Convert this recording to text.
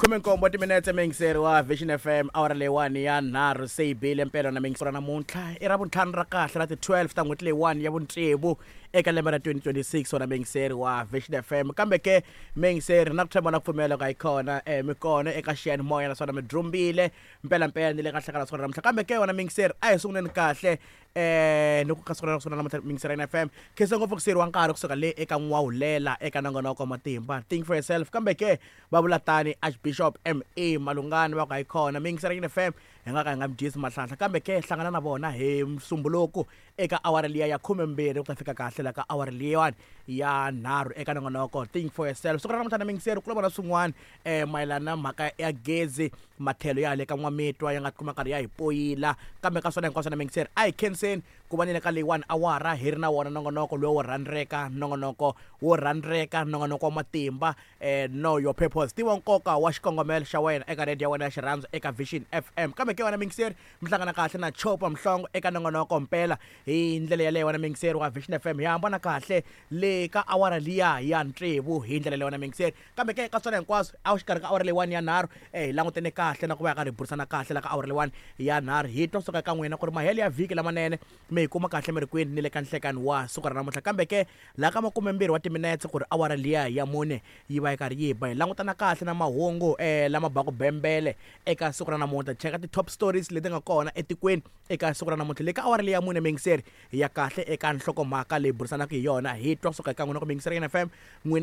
Khumenkombo timinetse, miyingiseri wa Vision FM, awara leyiwani ya nharhu se yi bile mpela na miyingisero. Namuntlha i ra vuntlhanu ra kahle ra ti-12 ta n'hweti leyiwani ya vutsevu eka lembe ra 2026, wona miyingiseri wa Vision FM. Kambe ke miyingiseri, na ku tshemba na ku pfumela ku a yi kona mi kona eka xiyanimoya, naswona mi drumbile mpelampela ni le ka hlekana siku ra namuntlha. Kambe ke wona miyingiseri, a hi sunguleni kahle ni ku ka siku ra namuntlha, miyingiseri ya FM. Khensa ngopfu ku siyeriwa nkarhi kusuka le eka N'wawulela eka nongonoko wa matimba Think for Yourself. Kambe ke va vula tani Archbishop Ma Malungani, va ku hayi kona miyingiseri ya FM, hi nga ka hi nga mi dyisi mahlanhla. Kambe ke hlangana na vona hi Musumbuluku eka awara liya ya 12 ku ta fika kahle la ka awara liyiwani ya nharhu eka nongonoko Think for Yourself. Siku ra namuntlha na miyingiseri, ku vona swin'wana mayelana na mhaka ya gezi, matlhelo ya le ka N'wamitwa ya nga tikuma karhi ya hi poyila. Kambe ka swona hinkwaswo na miyingiseri, a hi khenseni ku va ni le ka leyiwani awara hi ri na wona nongonoko lowu wo rhandzeka, nongonoko wo rhandzeka, nongonoko wa matimba Know Your Purpose, tiva nkoka wa xikongomelo xa wena, eka radio ya wena ya xirhandzu eka Vision FM. Kambe ke wena miyingiseri, mi hlangana kahle na Chopa Mhlongo eka nongonoko mpela hi ndlela yaleyo. Wena miyingiseri wa Vision FM, hi hambana kahle le ka awara liya ya tsevu hi ndlela leyo, wena miyingiseri. Kambe ke ka swona hinkwaswo, a xikarhi ka awara leyiwani ya nharhu hi langutene kahle na ku va hi karhi hi burisana kahle la ka awara leyiwani ya nharhu, hi twa suka ka n'wina ku ri mahelo ya vhiki lamanene, mi hi kuma kahle mi ri kwini ni le ka nhlekani wa siku ra namuntlha. Kambe ke laha ka 20 wa timinetse ku ri awara liya ya mune yi va yi karhi yi ba, hi langutana kahle na mahungu lama baku bembele eka siku ra namuntlha, cheka ti-top stories leti nga kona etikweni eka siku ra namuntlha. Le ka awara liya ya mune, miyingiseri, hi ya kahle eka nhlokomhaka leyi burisanaka hi yona, hi twa kusuka eka n'wina ku miyingiseri ya FM n'wina.